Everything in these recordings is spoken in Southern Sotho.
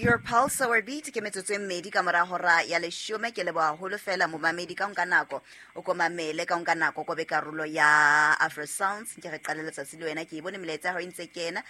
Your pulse our beat. Ke metsotso e mmedi ka mora hora ya leshome. Ke leboha haholo fela momamedi ka nka nako o ko mamele, ka nka nako ko be karolo ya Afro Sounds. Ke re qale letsatsi le wena, ke e bone melaetsa ya hao e ntse kena.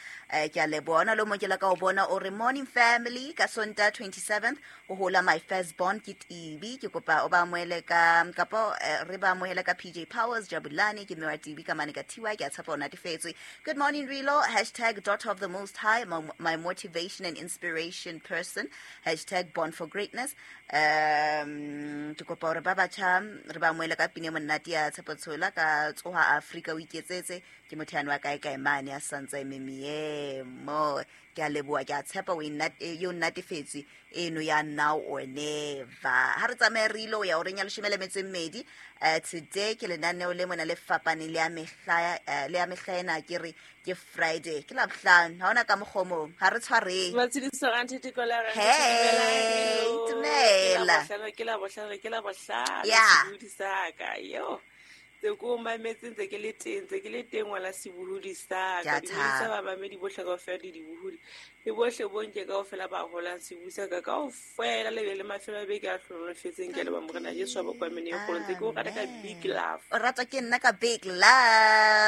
Ke a leboha. Ona le o mong ke la ka o bona o re morning family ka Sontaha 27th ho hola my first born ke Tibi. Ke kopa o ba amohele ka kapo re ba amohele ka PJ Powers Jabulani ke mme wa Tibi ka mane ka TY. Ke a tshepa o natefetswe. Good morning Rilo, hashtag daughter of the most high, my motivation and inspiration person, hashtag born for greatness. Ke kopa hore ba batjha re ba amohele ka pine monate ya Tshepo Tshola ka tsoha Afrika o iketsetse. Ke motho yane wa kae kae mane a santsa e memiemo. Ke a leboha, ke a tshepa o e o natefetswe eno ya now or never. Ha re tsamaye re ile o ya horeng ya leshome le metso e mmedi. Today ke lenaneo le mona le fapaneng le ya mehla, le ya mehla ena ke re ke Friday, ke Labohlano, ha hona ka mokgwa o mong, ha re tshwareng. Matshediso a Nthete Kola, re Hey, Dumela. dumela. Ke Labohlano, ke Labohlano, Yeah. sebohodi sa ka, yo. Tse ko mametse ntse ke le teng, ntse ke le teng ngwana sebohodi sa Ke a ka. Dumedisa thaba. bamamedi bohle kaofela le dibohodi. Le bohle bo nke kaofela ba holang sebohodi sa ka kaofela, le be le mafelo a beke a hlohonolofetseng. Ke a leboha Morena Jesu wa bokwamene e kgolo. Ntse ke o rata ka big love. O ratwa ke nna ka big love.